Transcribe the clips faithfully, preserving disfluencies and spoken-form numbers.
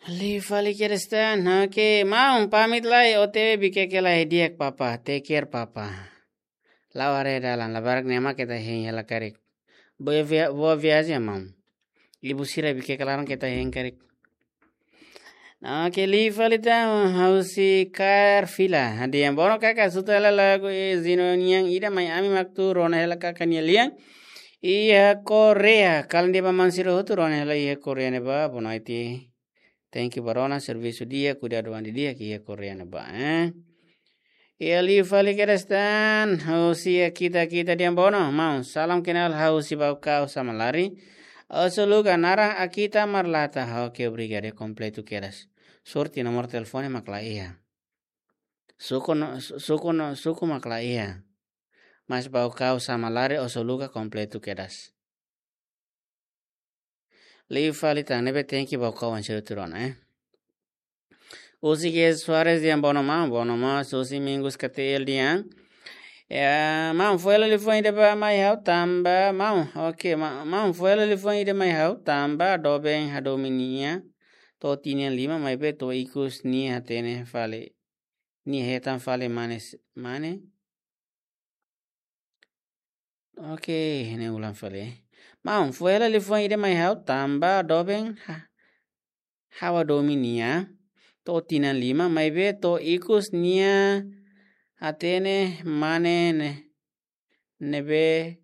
Liu fali kedas tan, oke, maun, pamit lai, O T W bikeke lai di'ak papa, take care papa. La'o haree dalan, labarik ne'e mak keta hein hela karik. Boa via-, boa viagem, maun. Ibu sira bikeke laran keta hein karik. Oke, liu fali tan, ha'u husi Kaer Vila. Di'ak, bono kaka, suta hela lagu Zino nian ida mai ami mak atu rona hela kaka nia lian. Iha Korea, kalan di'ak ba maun sira hotu, rona hela iha Korea ne'ebá, boa noite. Tenke ba rona servisu di'ak, kuidadu an di'ak iha Korea ne'ebá, eh. Iha liu fali kedas tan, husi Akita, Akita di'ak bono, maun. Salam kenal, ha'u husi Baucau Samalari. Oso luga naran Akita Marlata, oke, obrigadu, kompletu kedas. Sorte nomor telefone mak la iha. Suku no, su-, suku no, suku mak la iha. Mas Baucau Samalari, oso luga kompletu kedas. Liu fali tan, ne'ebé tenke Baucau an sira hotu rona, eh. Husi Ges Soares di'ak bono maun, bono mós, husi Mingus K T L di'ak. Ya, maun, foin hela liafuan ida ba mai ha'u tanba, maun, oke, ma-, maun, foin hela liafuan ida mai ha'u tanba, doben hadomi nia, to'o tinan lima, maibé to'o ikus nia hatene fali, nia hetan fali mane s-, mane, Oke, ne'e ulang fali. Maun, foin hela liafuan ida mai ha'u tanba doben ha-, ha'u hadomi nia to'o tinan lima, maibé to'o ikus nia hatene mane ne-, ne'ebé,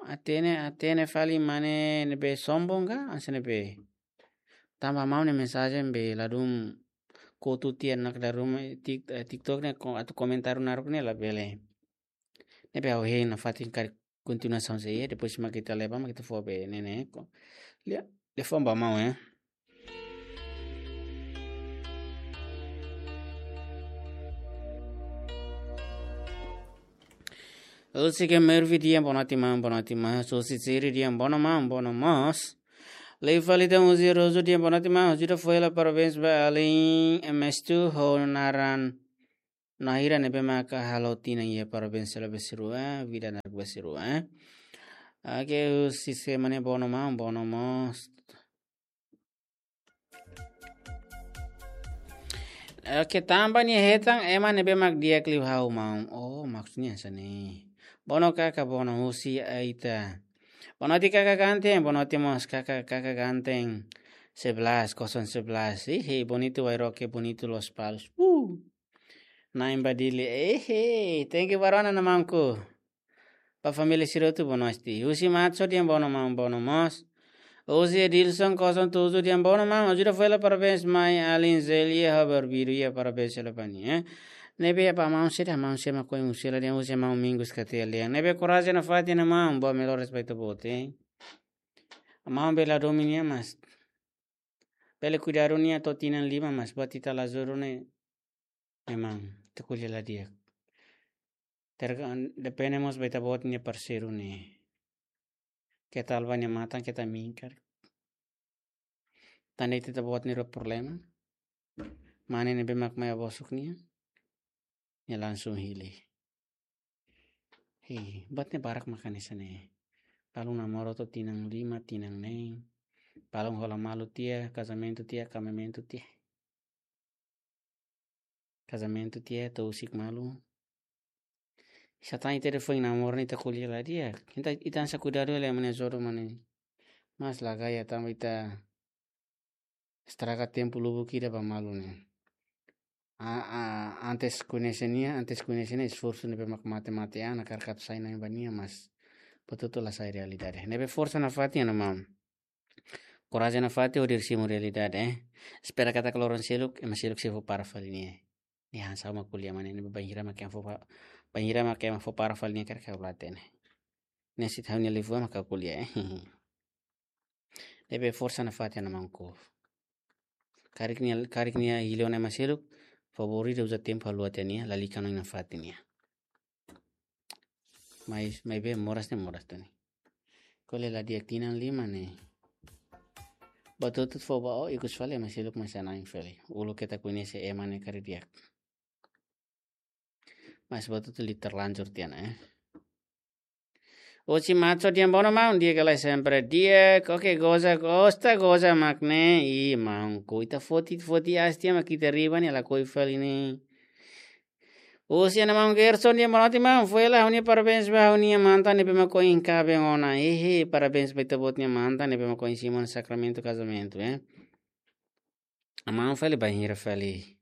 hatene, hatene fali mane ne'ebé sombong ka, hanesan ne'ebé. Tanba maun nia mensajen be ladún kotu tiha ona, kada ruma tik-, eh, TikTok ne'e ko-, atu komentáriu naruk ne'e labele. Ne'ebé ha'u hein nafatin karik kontinuasaun sei, depois mak ita leba, mak ita fó be ne'e ne'e ko. Lia, liafuan ba maun, eh. Husi Kemervi di'ak bonoite maun, bonoite mós. Husi Siri di'ak bono maun, bono mós. Liu fali tan husi Rosu di'ak bonoite maun, husi ita foin hela parabéns ba alin M S two ho naran Nahira ne'ebé maka halo tinan iha parabéns selalu besirua, vida naruk besirua, eh. Oke, husi Sema ne'e bono maun, bono mós. Oke, tanba nia hetan ema ne'ebé mak di'ak liu ha'u maun. Oh, maksudnya hanesan ne'e. Bono kaka, bono husi Aita. Bonoite kaka ganteng, bonoite mós kaka, kaka ganteng. Sebelas, kosong sebelas. Ih, bonitu wairoke, bonitu lospalos. Uh. Nain ba Dili. Eh, thank you ba rona, maunku. Ba família sira hotu bonoite. Husi Matso di'ak bono maun, bono mós. Husi Edilson kosong tujuh di'ak bono maun. Husi ita foin hela parabéns mai alin Zelia ho Barbiru, iha parabéns hela ba nia, eh. Ne'ebé ba maun sira, maun sira mak ohin husi hela di'ak, husi maun Mingus K T L di'ak. Ne'ebé korajen nafatin ona maun, boa melhoras ba ita-boot, eh. Maun bele hadomi nia mas. Bele kuidadu nia to'o tinan lima mas, buat ita la juru ne'e. Memang, ita ko'alia la di'ak. Terga-, depende mós ba ita-boot nia parseiru ne'e. Keta halai ba nia matan, keta minkar. Tan de'it ita-boot nia rua problema. Mane ne'ebé mak mai bosok nia, nia langsung hili. Hei, buat ne'e barak maka hanesan ne'e. Balun namoro to'o tinan lima, tinan neen. Balun hola malu tiha, kazamentu tiha, kazamentu tiha. Kazamentu tiha, to'o husik malu. Sá tan ita depois namoro ne'e ita ko'alia la di'ak. Ita, ita hanesan kuidadu hela ema nia jodoh mane. Mas la gaya tanba ita estraga tempu lubuk ida ba malu ne'e. A, a, antes koñese nia, antes koñese nia, esforsu ne'ebé mak mate-mate an, hakarak atu sai na'in ba nia, mas buat hotu la sai realidade. Ne'ebé forsa nafatin ona maun. Korajen nafatin hodi simu realidade, eh. Espera katak loron seluk, ema seluk sei fó para fali nia. Nia hanesan ha'u mak ko'alia mane, ne'ebé bainhira mak ema fó pa-, bainhira mak ema fó para fali nia karik ha'u la hatene. Nia sei tau nia liafuan mak ha'u ko'alia, eh. Ne'ebé forsa nafatin ona maunku. Karik nia, karik nia hili ona ema seluk, favór ida uza tempu haluha tiha nia, lalika ona nafatin nia. Mai, maibé moras ne'e moras tan ne'e. Ko'alia la di'ak tinan lima ne'e. Buat hotu fó ba ó, ikus fali ema seluk mai sai na'in fali. Uluk keta koñese ema ne'e karik di'ak. Mas buat hotu li terlanjur tiha ona, eh. Husi Macho dehan bono maun, di'ak ka lae? Sempre di'ak. Oke, goza, gosta, goza mak ne'e. Ih, maun, ko ita foti, foti aas tiha mak ita riba ne'e, lakohi fali ne'e. Husi Ana Maun Gerson dehan bonoite maun, foin hela ha'u-nia parabéns ba ha'u-nia mantan ne'ebé mak ohin kaben ona. Hehe, parabéns ba ita-boot nia mantan ne'ebé mak ohin simu ona sakramentu kazamentu, eh. Maun fali bainhira fali.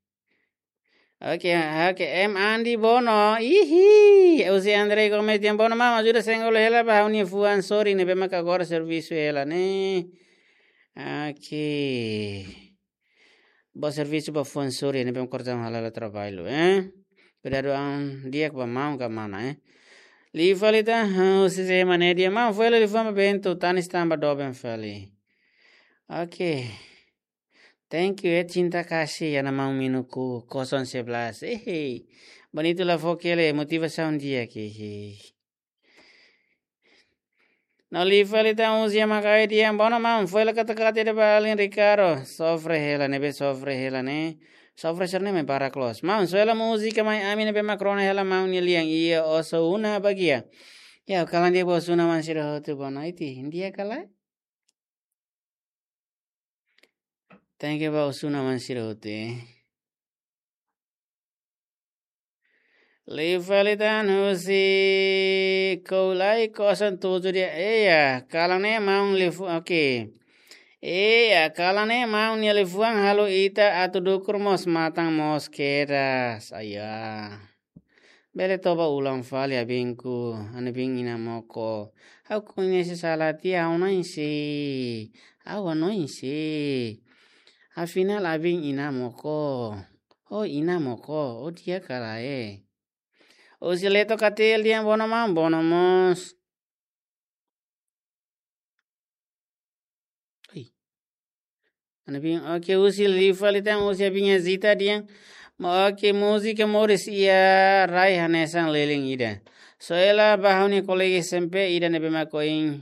Oke, oke, M Andi bono. Ihi, husi Andre Gomes dehan bono maun, ajuda senggol hela ba ha'u-nia fuan sorin ne'ebé mak agora servisu hela ne'e. Oke. Bá servisu ba fuan sorin ne'ebé mak korjaun hala'o hela traballu, eh. Kuidadu an di'ak ba maun ka mana, eh. Liu fali tan, husi Zema ne'e dehan maun, foin hela liafuan ba Bento, tanis tanba doben fali. Oke. Thank you, eh, cinta kasih, Ana Maun Minuku, kosong sebelas. Hehe. Bonitu la fó kele, motivasaun di'ak, hehe. No liu fali tan husi Yamakae dehan bono maun, foin hela katakata ida ba alin Ricardo. Sofre hela, ne'ebé sofre hela ne'e. Sofre sira-ne'e mai barak loos. Maun, soe hela múzika mai ami ne'ebé mak rona hela maun nia lian, iha Osuna Bagia. Ya, kalan di'ak ba Osuna maun sira hotu, bonoite. Di'ak ka lae? Thank you ba Osuna maun sira hotu, eh. Liu fali tan husi Koulai kosong tujuh dehan, iya, kalan ne'e maun liafuan, oke. Iya, kalan ne'e maun nia liafuan halo ita atu dukur mós matan mós kedas. Aya. Bele toba ulang fali abinku, Ana Bin Ina Moko. Ha'u koñese sala tiha, ha'u hanoin sé. Ha'u hanoin sé. Afinál Abin Ina Moko. Ho Ina Moko, ho di'ak ka lae? Husi Leto Katil dehan bono maun, bono mós. Oi. Ana Bin, oke, husi liu fali tan, husi Abin Azita dehan. Ma oke, múzika moris iha rai hanesan leleng ida. Soe hela ba ha'u-nia kolega S M P ida ne'ebé mak ohin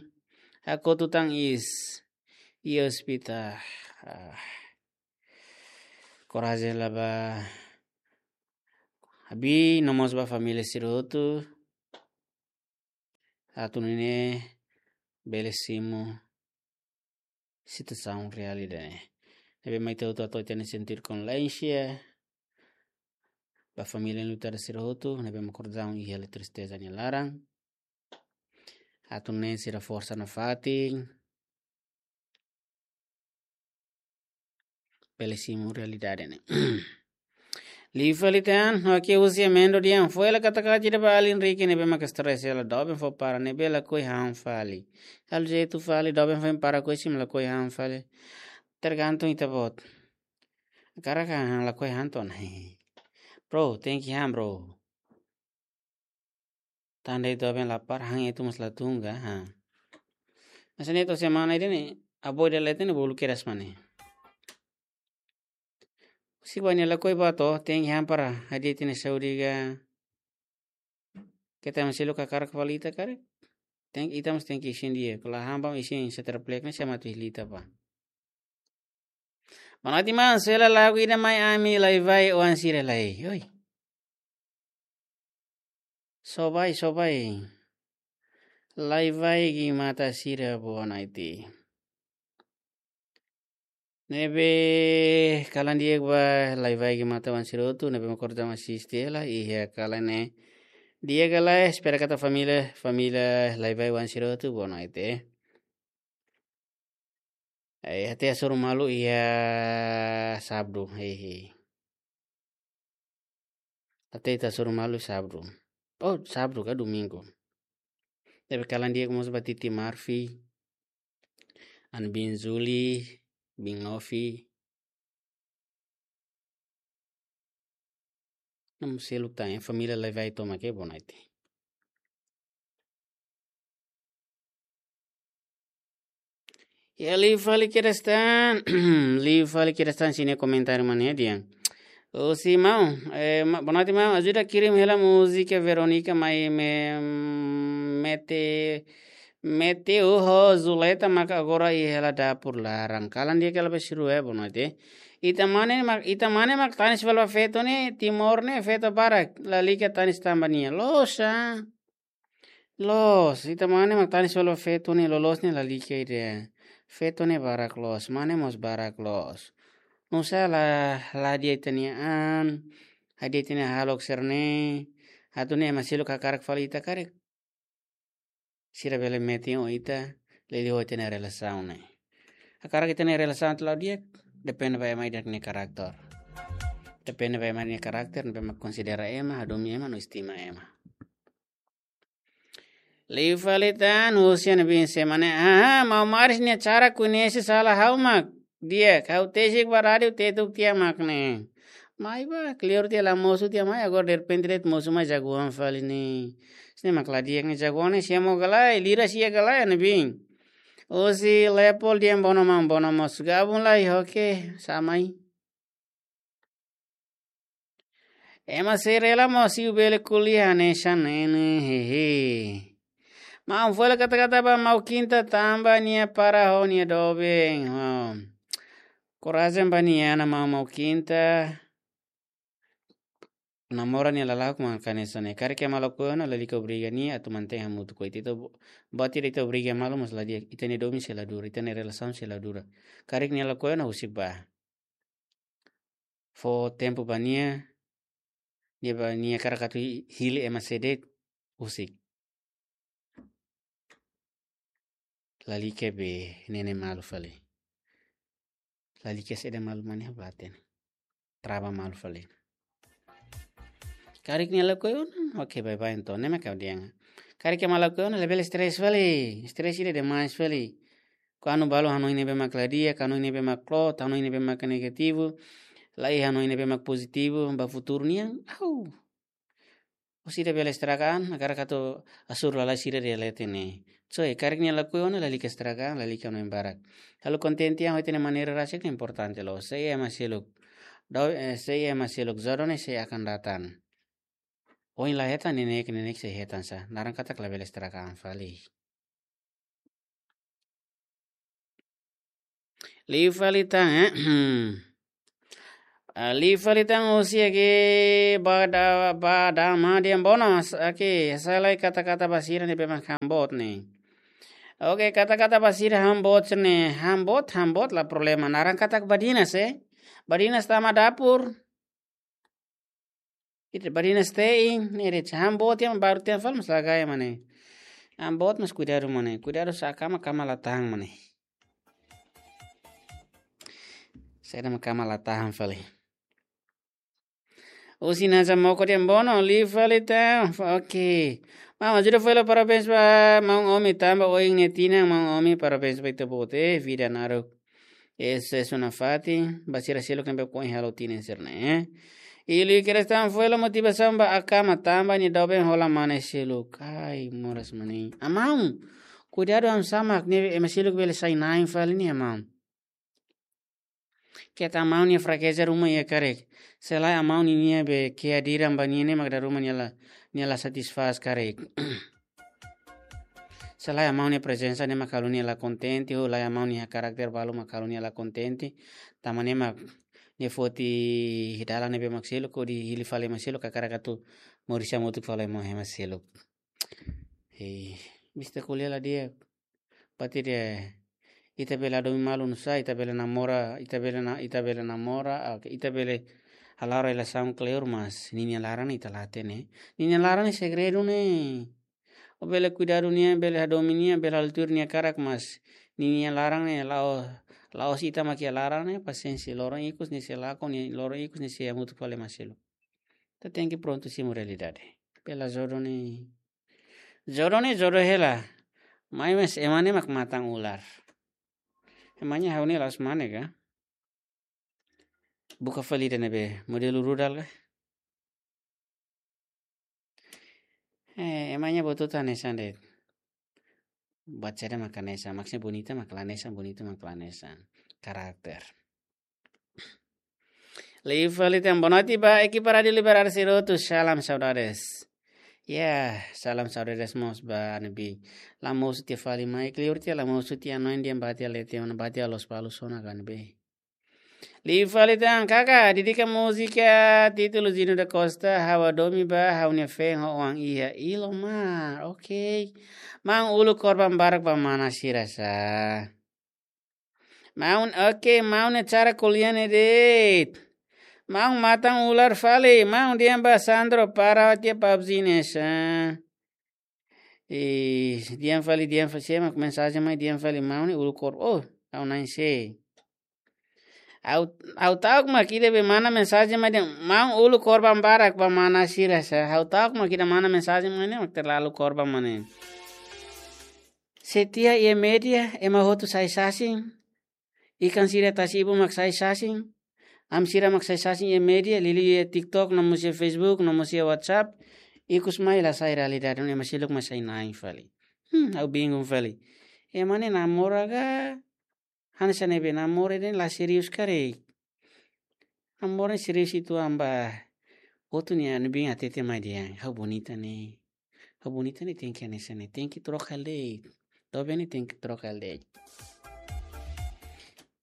hakotu tan iis iha ospitál. Ah. Korajen hela ba Abi, no mós ba família sira hotu. Atu nune'e bele simu situasaun reál ida-ne'e. Ne'ebé mak ita hotu atu ita-nia sentir kondolésens ba família enlutadu sira hotu, ne'ebé mak korjaun iha hela tristeza nia laran. Atu nune'e sira forsa nafatin. Bele simu realidade ne'e. Liu fali tan, oke, husi Amendo dehan, foin hela katakata ida ba alin Ricky ne'ebé mak stress hela, doben fó para ne'ebé lakohi han fali. Halo jeitu fali, doben foin para koisi mak lakohi han fali. Tergantung ita-boot. Hakarak han lakohi han tan. Bro, tenke han, bro. Tanda ita doben lapar, han ita mós la tun ka, ha. Masa ne'e to'o semana ida-ne'e, avó ida leten ne'e bolu kedas mak ne'e. Husi ba nia lakohi ba to'o, tenke han para hadi'a ita-nia saúde ka. Keta masi lo kakar kepala ita karik. Tenke, ita mós tenke isin di'ak. Kalau han ba isin seter plek ne'e sama tu hilita pa. Bonoite maun, soe hela lagu ida mai ami lai-vai oan sira lai. Oi. Sobai, sobai. Lai-vai Gimata sira bonoite. Ne'ebé kalan di'ak ba lai-vai Gimata oan sira hotu, ne'ebé mak korjaun asiste hela, iha kalan ne'e. Di'ak ka lae, espera katak família, família lai-vai oan sira hotu, bonoite. Eh, até hasoru malu iha sábadu, hehe. Até ita hasoru malu sábadu. Oh, sábadu ka domingu. Ne'ebé kalan di'ak mós ba Titi Marfi. Ana Bin Zuli, Bin Novi. Namu seluk tan, eh, família lai-vai tomak, eh, bonoite. Ya, liu fali kedas tan, liu fali kedas tan sira-nia komentáriu mak ne'e dehan. Husi maun, eh, ma-, bonoite maun, ajuda kirim hela múzika Veronica mai me-, mete, mete ho Zuleta mak agora iha hela dapur laran. Kalan di'ak hela ba sira, eh, bonoite. Ita mane mak, ita mane mak tanis fali ba feto ne'e, Timor ne'e feto barak, lalika tanis tanba nia. Loos, ah. Loos, ita mane mak tanis fali ba feto ne'e, loloos ne'e lalika ida. Feto ne'e barak loos, mane mós barak loos. Nusá la, la di'ak ita-nia an, la di'ak ita-nia hahalok sira-ne'e, atu nune'e ema seluk hakarak fali ita karik. Sira bele metin ho ita, liuliu ho ita-nia relasaun ne'e. Hakarak ita-nia relasaun atu la'o di'ak, depende ba ema ida-idak nia karakter. Depende ba ema nia karakter, ne'ebé mak konsidera ema, hadomi ema, no estima ema. Liu fali tan, husi ne'ebé mak semana, ah, maun Maris nia cara koñese sala ha'u mak. Di'ak, ha'u tesik ba rádiu Tetuk tiha mak ne'e. Mai ba, kleur tiha la mosu tiha mai, agora derrepente de'it mosu mai jagoan fali ne'e. Sira mak la di'ak ne'e jagoan ne'e, sia mós ka lae, lira sia ka lae, ne'ebé. Husi Leopoldo dehan bono maun, bono mós gabung lai, oke, sá mai. Ema sei rela mós siu bele ko'alia hanesan ne'e, hehe. Maun fó hela kata-kata ba maun Kinta tanba nia para ho nia doben, ho. Korajen ba nia, maun, maun Kinta. Namora nia lala'ok mak hanesan ne'e. Karik ema lakohi ona, lalika obriga nia atu mantein hamutuk ho ita. Ita bo-, buat ida ita obriga malu mós la di'ak. Ita-nia doben sei la dura, ita-nia relasaun sei la dura. Karik nia lakohi ona, husik ba. Fó tempu ba nia, nia ba nia hakarak atu hi-, hili ema sé de'it, husik. Lalika be ne'e malu fali. Lalika saida malu mak ne'e, bate ne'e. Trava malu fali. Karik nia lakohi ona, oke, bye bye entaun, ne'e mak ha'u dehan. Karik ema lakohi ona, labele stress fali. Stress ida demais fali. Kuandu balu hanoin ne'ebé mak la di'ak, hanoin ne'ebé mak kloot, hanoin ne'ebé mak negativu, la'ós hanoin ne'ebé mak pozitivu ba futuru nian, au. Orsida bele estraga an, hakarak atu hasoru lalais sira iha leten ne'e. So, eh, karik nia lakohi ona, lalika estraga an, lalika hanoin barak. Halo kontente an ho ita-nia maneira rasik ne'e importante loos. Sei ema seluk. Dau, eh, sei ema seluk. Jodoh ne'e sei akan datang. Ohin la hetan, neineik, neineik sei hetan sá. Naran katak labele estraga an fali. Liu fali tan, eh? Ah, liu fali tan, husi Agi Bada-, Badama dehan bono, s-, oke, hasai lai kata-kata ba sira ne'ebé mak hamboot ne'e. Oke, kata-kata ba sira hamboot ne'e, hamboot, hamboot la problema. Naran katak badinas, eh? Badinas tama dapur. Ita badinas te'in, ne'e de'it, hamboot iha baru tiha fali mós la gaya mak ne'e. Hamboot mós kuidadu mak ne'e. Kuidadu sá, kama, kama la tahan mak ne'e. Saida mak kama la tahan fali. Husi Naza Moko dehan bono, liu fali tan. Oke. Maun, ajuda fali, parabéns ba maun Omi tanba ohin nia tinan, maun Omi, parabéns ba ita-boot, eh, vida naruk. Ese es una fati, ba sira seluk ne'ebé ohin halo tinan sira-ne'e, eh. I liu kedas tan fó hela motivasaun ba akama tanba nia doben hola mane seluk. Ai, moras mak ne'e. Amaun, kuidadu, am samak ne'e, ema seluk bele sai na'in fali ne'e, amaun. Keta amaun nia frakeza ruma iha karik. Se lae amaun ninia be kehadiran ba nia ne'e mak dala ruma nia la, nia la satisfás karik. Se lae amaun nia prezensa ne'e mak halo nia la kontente, ou lae amaun nia karakter balu mak halo nia la kontente. Tanba ne'e mak nia foti dalan ne'ebé mak seluk, hodi hili fali ema seluk, hakarak atu moris hamutuk fali ho ema seluk. Hei, bista ko'alia la di'ak. Buat ida, ita bele hadomi malu nusá, ita bele namora, ita bele na-, ita bele namora, ah, ita bele hala'o relasaun kleur, mas ninia laran ita la hatene. Ninia laran ne'e segredu ne'e. Ó bele kuidadu nia, bele hadomi nia, bele halo tuir nia karak, mas ninia laran ne'e la'o, la'ós ita mak iha laran ne'e, pasiénsia, loron ikus nia sei lakon, nia loron ikus nia sei hamutuk fali ho ema seluk. Ita tenke prontu simu realidade. Bele jodoh ne'e. Jodoh ne'e jodoh hela. Maibé ema ne'e mak matan ular. Emangnya ha'u ne'e la'ós mane ka? Buka fali ida ne'ebé modelu rudal ka? Eh, emangnya buat hotu hanesan de'it. Buat saida mak hanesan, maksudnya bonita mak la hanesan, bonita mak la hanesan. Karakter. Liu fali tan, boa noite ba ekipa Rádiu Liberdade sira hotu, salam saudades. Ya, salam saudades mós ba ne'ebé la mosu tiha fali mai, kleur tiha la mosu tiha, hanoin dehan bá tiha leten ona, bá tiha loos balu sona ka ne'ebé. Liu fali tan, kaka, dedika múzika títulu Zino da Costa, ha'u hadomi ba ha'u-nia feen ho oan iha Ilomar. Ok. Maun uluk korban barak ba mana sira sa. Maun, ok, maun ne'e cara ko'alia ne'e de'it. Maun matan ular fali, maun dehan ba Sandro para tiha PUBG ne'e sa. Eh, dehan fali, dehan fali, sé mak mensajen mai, dehan fali maun ne'e uluk kor-, oh, ha'u na'in sé. Ha'u, ha'u ta'uk mak ida be mana mensajen mai dehan, maun uluk korban barak ba mana sira sa. Ha'u ta'uk mak ida mana mensajen mai ne'e, mak terlalu korban mana. Setia iha média, ema hotu sai sasin. Ikan sira tasi-ibun mak sai sasin. Ami sira mak sai sasin iha média, liuliu iha TikTok, no mós iha Facebook, no mós iha WhatsApp. Ikus mai la sai realidade, ema seluk mak sai na'in fali. Hmm, ha'u bingung fali. Ema ne'e namora ka? Hanesan ne'ebé namora dehan la serius karik. Namora ne'e serius uitoan ba. Hotu nia ne'ebé hatete mai dehan, ha'u bonita ne'e. Ha'u bonita ne'e tenke hanesan ne'e. Tenke troka de'it. Doben ne'e tenke troka de'it.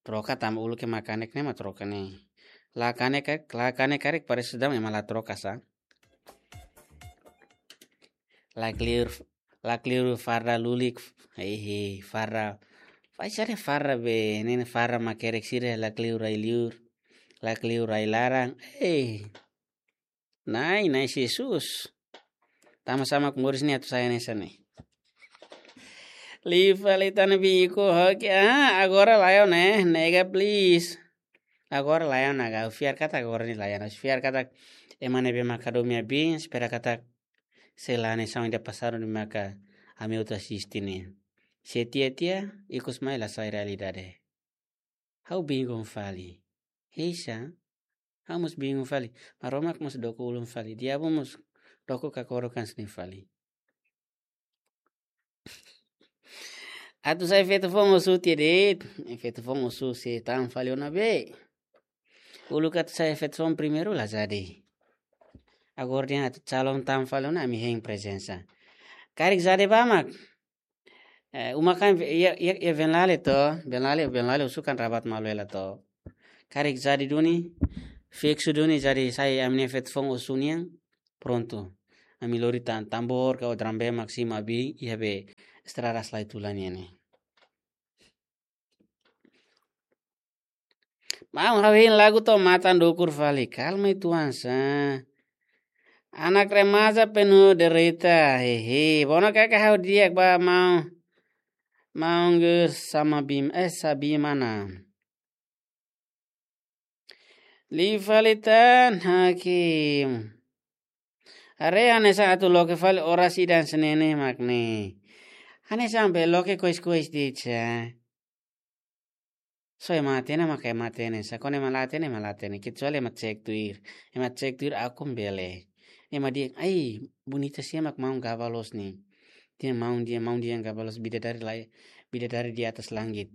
Troka tanba uluk ema kanek ne'e mak troka ne'e. La kanek, la kanek karik parese daudaun ema la troka sa. Lakleur, lakleur farda lulik, hehe, farda. Fai sare farda be, ne'e farda makerek sira lakleur ai-liur, lakleur ai-laran. Eh. Na'in, na'in Jesus. Tama sama ku moris ne'e atu sai hanesan ne'e. Liu fali tan biku hoki. Ah, agora laiha ona, nega please. Agora laiha ona, ha'u fiar katak agora ne'e laiha ona. Fiar katak ema ne'ebé mak hadomi abin, espera katak sei la hanesan ida pasadu ne'e maka ami hotu asiste ne'e. Se tiha-tiha, ikus mai la sai realidade. Ha'u bingung fali. Heisa, ha'u mós bingung fali. Maromak mós dook ulun fali. Diabu mós dook kakorok hanesan ne'e fali. Atu sai feto foun osu tiha de'it. Feto foun osu sei tan fali ona be. Uluk atu sai feto foun primeiru la jadi. Agora dehan atu calon tan fali ona ami hein prezensa. Karik jadi ba mak. Eh, uma kan, iha, iha, iha Venlale to, Venlale, Venlale osu kan rabat malu hela to. Karik jadi duni, fiksu duni jadi sai ami-nia feto foun osu nian, prontu. Ami lori tan, tambor ka drum band mak simu abin, iha be estrada Salaitulan nian ne'e. Maun, ha'u hein lagu to'o matan dukur fali. Kalma uitoan sa. Anak remaja penuh derita. Hehe. Bono kaka ha'u di'ak ba maun. Maun gus sama bim, eh, Sabimana. Liu fali tan hakim. Haree hanesan atu loke fali orasi dan senene mak ne'e. Hanesan be loke kois-kois de'it sa. Só ema hatene maka ema hatene, só kuandu ema la hatene, ema la hatene. Kecuali ema cek tuir. Ema cek tuir akun bele. Ema dehan, ai, bonita sé mak maun gaba loos ne'e. Dehan maun dehan, maun dehan gaba loos bidadari lai, bidadari di atas langit.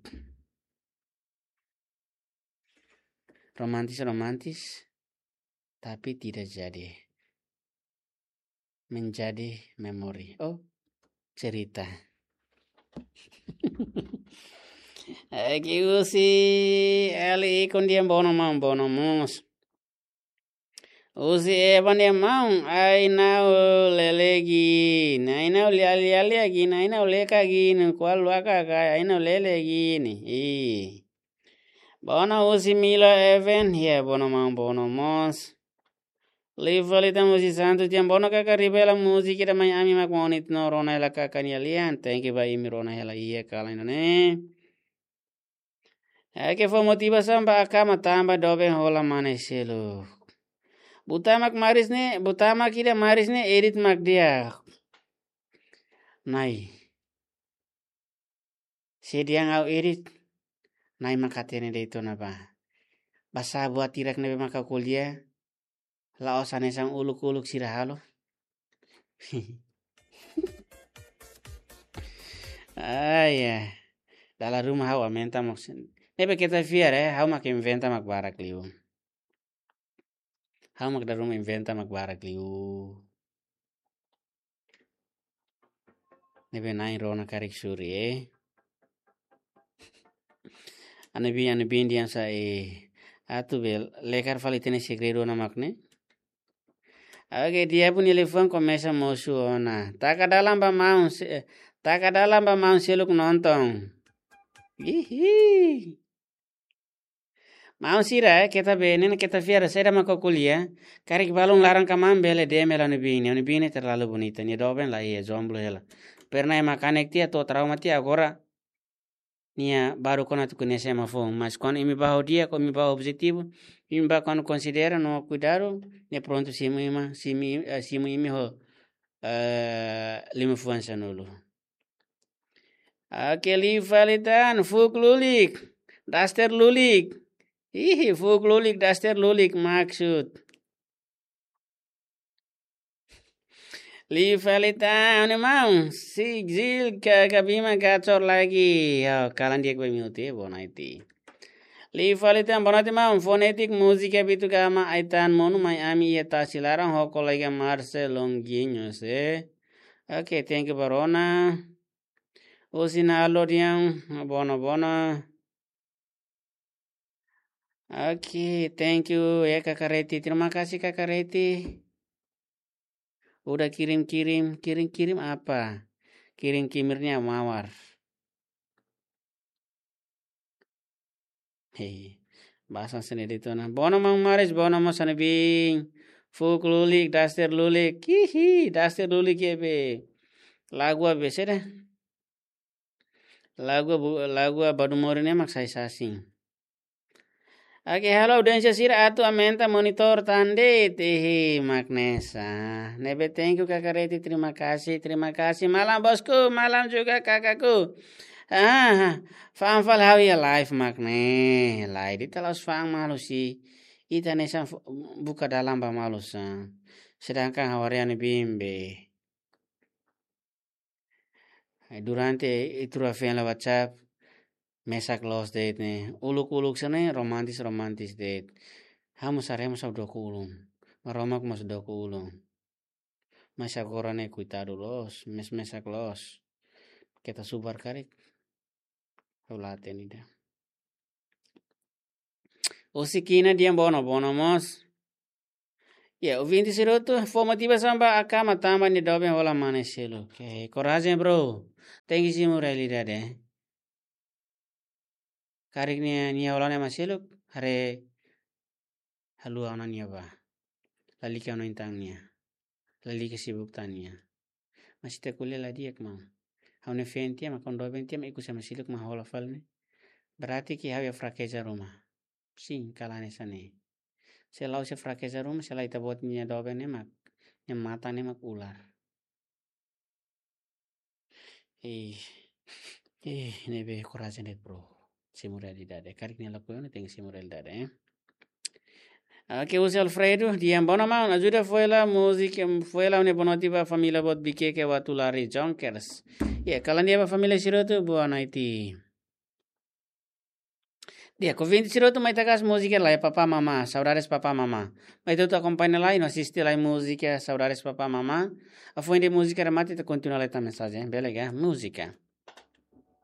Romantis, romantis, tapi tidak jadi. Menjadi memori. Oh, cerita. Eki husi Eli Ikun dehan bono maun, bono mós. Husi Evan dehan maun, ai-na'u lele gin, ai-na'u lialia gin, ai-na'u leka gin, kual luaka kai, ai-na'u lele gin. Ih. Bono husi Milo Evan, ya bono maun, bono mós. Liu fali tan husi Santos dehan bono kaka revela múzika ida mai ami mak moni no rona hela kaka nia lian. Thank you ba imi, rona hela iha kalan ida-ne'e. Eke fó motivasaun ba akama tanba doben hola mane seluk. Buta mak maris ne'e, buta mak ida maris ne'e edit mak di'ak. Nai. Se dehan ha'u edit, nai mak hatene de'it ona ba. Basá buat hirak ne'ebé maka ko'alia, la'ós hanesan uluk-uluk sira halo. Ah, ya. Dala ruma ha'u aumenta mak sin. Ne'ebé keta fiar, eh, ha'u mak inventa mak barak liu. Ha'u mak dala ruma inventa mak barak liu. Ne'ebé na'in rona karik suri, eh. Ane bin, ane bin dehan sa, eh, Atu bele lekar fali ita-nia segredu ona mak ne'e. Oke, di'ak, nia liafuan komesa mosu ona. Taka dalan ba maun se-, taka dalan ba maun seluk nonton. Ihi. Maun sira, eh, keta be, ne'e keta fiar, saida mak ko'alia. Karik balun laran ka maun bele D M hela nia biin, nia biin terlalu bonita, nia doben la iha, jomblo hela. Pernah ema kanek tiha, to'o trauma tiha, agora nia baru kona tu kene sema foun. Mas kuandu imi ba ho di'ak, kuandu imi ba ho objetivu, imi ba kuandu konsidera no kuidadu, nia prontu simu imi, simu, eh, simu imi ho, eh, liman fuan sanulu. Oke, liu fali tan, fuuk lulik, daster lulik. Ihi, fuuk lulik, daster lulik, maksud. Liu fali tan, ne'e maun, si jil ka kabima gacor lagi. Yo, kalan di'ak ba imi hotu, boa noite. Liu fali tan, boa noite maun, fonétik múzika Bitu Gama, ai tan monu mai ami iha tasi laran ho kolega Marcel Longuinho, se. Oke, thank you ba rona. Osin alo diam, bono bono. Oke, thank you ya Kaka Reti. Terima kasih Kaka Reti. Udah kirim-kirim, kirim-kirim apa? Kirim kimirnya mawar. Hei, bahasa sini di tona. Bono maun Maris, bono maun Sanibing. Fuuk lulik, daster lulik. Hihi, daster lulik ya be. Lagu apa sih dah? Lagu bu-, lagu Badu Mori ne'e mak sai sasin. Oke, halo audiénsia sira, atu aumenta monitór tan de'it, ihi, mak ne'e sa. Ne'ebé thank you Kaka Reti, terima kasih, terima kasih. Malam bosku, malam juga kakaku. Ah, fa'an fali ha'u iha live mak ne'e. Live ita la'ós fa'an malu si. Ita hanesan fo-, buka dalan ba malu sa. Sedangkan ha'u haree nia biin be. Ai, durante ita rua feen la WhatsApp, mesak loos de'it ne'e. Uluk-uluk sira ne'e romantis, romantis de'it. Ha'u mós haree mós ha'u dook ulun. Maromak mós dook ulun. Mas agora ne'e koitadu loos, mes-mesak loos. Keta subar karik. Ha'u la hatene ida. Osi kina di'ak, bono, bono mós. Ya, ouvinte sira hotu, fó motivasaun ba Akama tanba nia doben hola mane seluk. Oke, korajen, bro. Tenke simu realidade. Karik nia, nia hola ema seluk, haree haluha ona nia bá. Lalika ona intan nia. Lalika sibuk tan nia. Mas ita ko'alia la di'ak maun. Ha'u-nia feen tiha mak, ha'u-nia doben tiha mak, ikus ema seluk mak hola fali ne'e. Berarti ke ha'u iha frakeza ruma. Sin, kalan hanesan ne'e. Se la'ós iha frakeza ruma, se lae ita-boot nia doben ne'e mak, nia matan ne'e mak ular. Eh, eh, ne'ebé korajen de'it, bro. Simu realidade. Karik nia lakohi ona, tenke simu realidade, eh. Oke, José Alfredo, di'ak, bono maun, ajuda foin hela múzika, foin hela ha'u-nia boa noite ba família boot Bikeke Watulari Jonkers. Ya, kalan di'ak ba família sira hotu, boa noite. Di'ak, ouvinte sira hotu, mai ita hasoru múzika lai Papá Mamá, Saudades Papá Mamá. Mai ita hotu akompaña lai, no asiste lai múzika Saudades Papá Mamá. Hafoin de'it múzika remata ita kontinua lai tan mensajen, bele ka? Múzika.